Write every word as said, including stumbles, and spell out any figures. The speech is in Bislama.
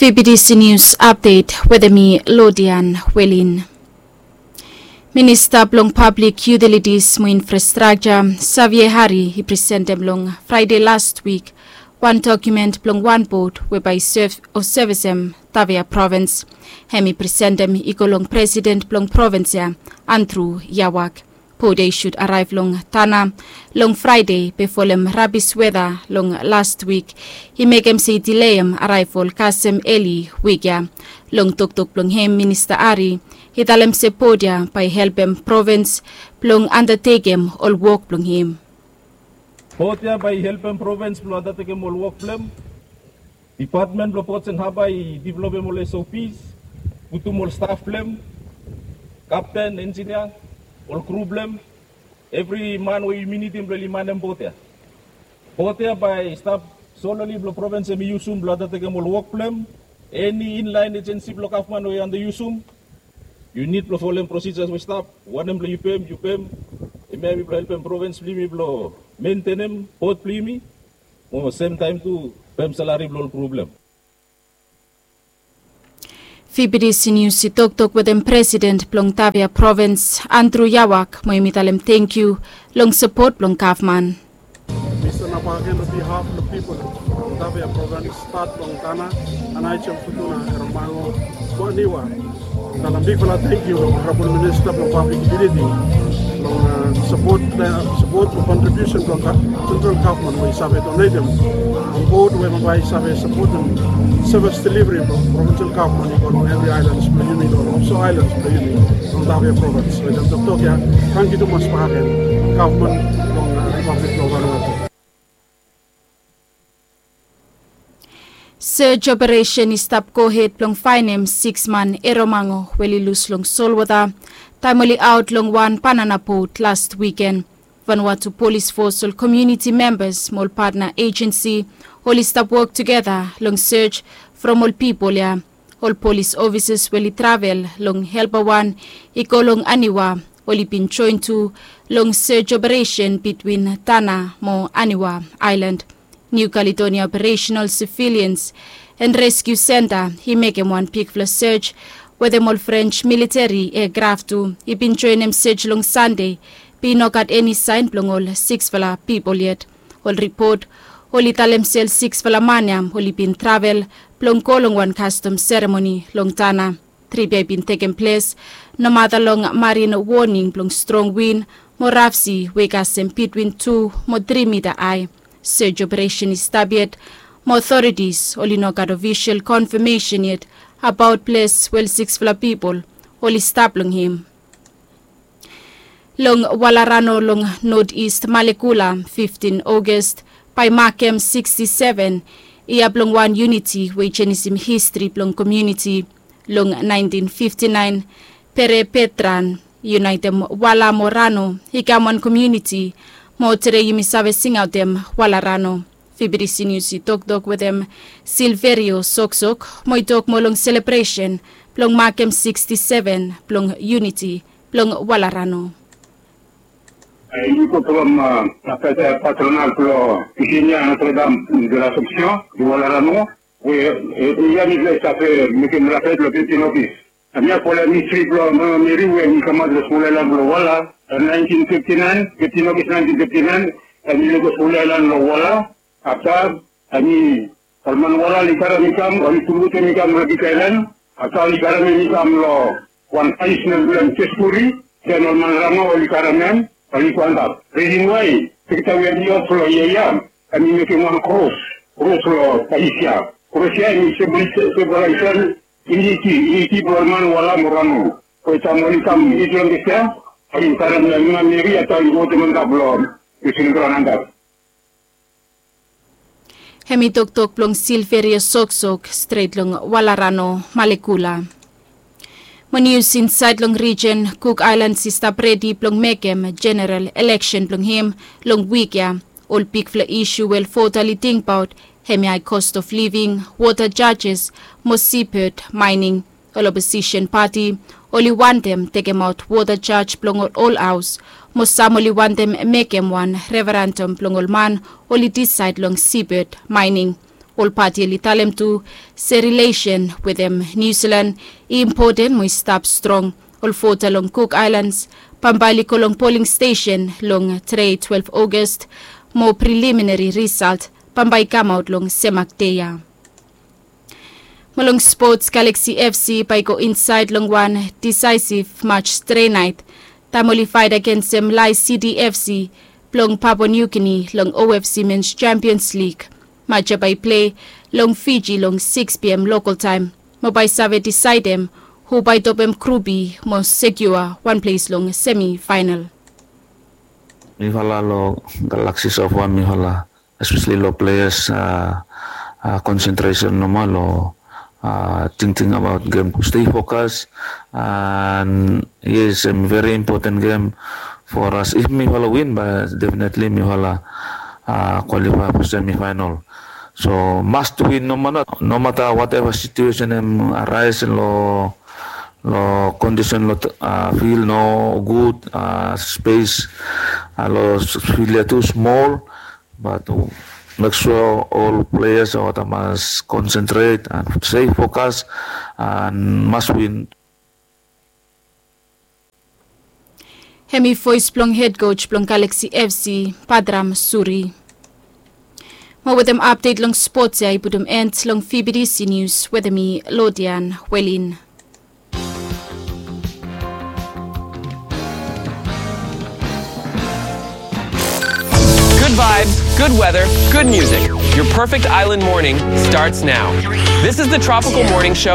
V B T C News Update wetem mi Lodian Welin. Minista blong Pablik Yutilitis mo Infrastrakja, Xavier Hari, i presentem long Fraede las wik wan dokumen blong wan bot we bae i sev o sevesem Tavia provins. Hem i presentem i go long presiden blong provins ya, Andrew Yawak. Bot ya i sud araev long Tana long Fraede, be folem rabis weda long las wik i mekem se i dileem araeval kasem eli wik ya. Long toktok blong hem, Minista Hari i talem se bot ya bae i helpem provins blong andatekem ol wok blong hem. Bot ya bae i helpem provins blong andatekem ol wok blong hem. Dipatmen blong Ports and Harbour i developem ol S O Ps, putum ol staf blong hem, kapten, enjinia, ol kru blong hem, evri man we yumi nidim blong oli manem bot ya. Bot ya bae i stap sololi blong provins hemi yusum blong andatekem ol wok blong hem. Eni inlaen ejensi blong gavman we yu anda yusum, yu nid blong folem prosijas we i stap. Wanem blong yu pem, yu pem. Hemia hemi blong helpem provins blong yumi blong mentenem bot blong yumi, mo semtaem tu pem salari blong ol kru blong hem. V B T C News i toktok wetem presiden blong Tavia provins, Andrew Yawak, mo hemi talem tangkiu long sapot blong gavman. Mi stanap agen on behalf of the people of Tavia province, stat long Tana, Aneityum, Futuna, Eromango, mo Aniwa. Talem bigfala tangkiu long Honorable Minister blong Public Utility long, a, sapot, a, sapot mo kontribiusen blong central gavman we i save donetem on bot we bae i save sapotem sevis deliveri blong provinsel gavman i go long evri aelans blong yumi, long offshore aelans blong yumi, long Tavia provins. Wetem toktok ya, tangkiu tumas bakegen gavman blong, a, Ripablik blong Vanuatu. Search operesen i stap gohed blong faenem siks man Eromango we oli lus long solwota taem oli aot long wan banana bot las wiken. Vanuatu Polis Fos, ol komuniti membas mo ol patna ejensi oli stap wok tugeta long search from ol pipol ya. Ol polis ofisas we oli travel long Helper wan i go long Aniwa, oli bin joen tu long search operesen bitwin Tana mo Aniwa aelan. New Caledonia Operational Surveillance and Rescue Centre i mekem wan bigfala search wetem ol French militeri eakraf tu i bin joenem search long Sande, be i no gat eni saen blong ol siksfala pipol yet. Ol ripot oli talem se ol siksfala man ya oli bin travel blong go long wan kastom seremoni long Tana. Trip ya i bin tekem ples nomata long marin woning blong strong win mo raf si we i kasem bitwin tu mo tri mita ae. Search operesen i stap yet mo otoritis oli no gat ofisol konfamesen yet abaot ples we ol siksfala pipol oli stap long hem. Long Walarano long North East Malekula, fiftin August bae i makem siksti seven yia blong wan yuniti we i jenisim histri blong komuniti. Long naentin fifti naen, Pere Petran i yunaetem Wala mo Rano i kam wan komuniti, mo tede yumi save singaotem Walarano. V B T C News i toktok wetem Silverio Soksok mo i tok moa long selebresen blong makem siksti seven blong yuniti blong Walarano. Yumi go from, a, fete patronal blong Virginia Notre Dame de l'Assomption i Walarano, we, e, yia mifala i save mekem la fete long fiftin August. Hemia folem histri blong Mama Meri we hem i kamaot long skul aelan blong Wala long naentin fifti naen, fiftin August naentin fifti naen, hem i go skul aelan long Wala. Afta hem i, ol man Wala oli karem i kam, oli pulputem i kam long big aelan. Afta oli karem hem i kam long wan faesnel blong hem, Jespuri. Den ol man Rano oli karem hem, oli go antap. Risen wae sekta we hem i of long yia ya, hem i mekem wan kros, kros long faes ya. Kros ya hem i simbolaisim yuniti, yuniti blong ol man Wala mo Rano. From taem oli kam it long ples ya, oli karem Mama Meri, afta oli putum antap long wetem graon antap. Hemi toktok blong Silverio Soksok, stret long Walarano, Malekula. Mo nius insaed long rijen, Cook Islands i stap redi blong mekem jeneral eleksen blong hem long wik ya. Ol bigfala isu we ol vota oli tingbaot hemi hae cost of living, water charges mo seabed mining. Ol oposisen pati oli wantem tekemaot water charge blong ol haos, mo sam oli wantem mekem wan referendum blong ol man oli disaed long seabed mining. Ol pati oli talem tu se rilesen wetem Niu Silan i impoten mo i stap strong. Ol vota long Cook Islands bambae oli go long poling stesen long tre twelve August, mo preliminary result bambae i kamaot long semak dei ya. Mo long spots, Galaxy F C bae i go insaed long wan disaesiv match tre naet taem oli faet agensem Lae City F C blong Papua New Guinea long O F C Men's Champions League. Match ya bae i plei long Fiji long six P M local taem, mo bae i save disaedem hu bae i topem grup B mo sekiua wan ples long semi faenal. Mifala long Galaxy so far, mifala espeseli long pleas, a, konsentresen nomo long, a, tingting abaot gem tu stei fokas. An yes, em veri impoten gem for as. If mifala win, bae definitely mifala, a, kwalifae for semi faenal. So must win nomata, nomata wateva situesen em araes long, long kondisen long, a, fil nogud, a, spes, a, long fil ya tu smol. Bat mek sua ol pleas olgeta mas konsentret an stei fokas an mas win. Hemi voes blong hed koj blong Galaxy F C, Badram Suri. Mo wetem apdet long spots ya i putum en long V B T C News wetem mi, Lodian Welin. Good vibes, good weather, good music. Your perfect island morning starts now. This is the Tropical Morning Show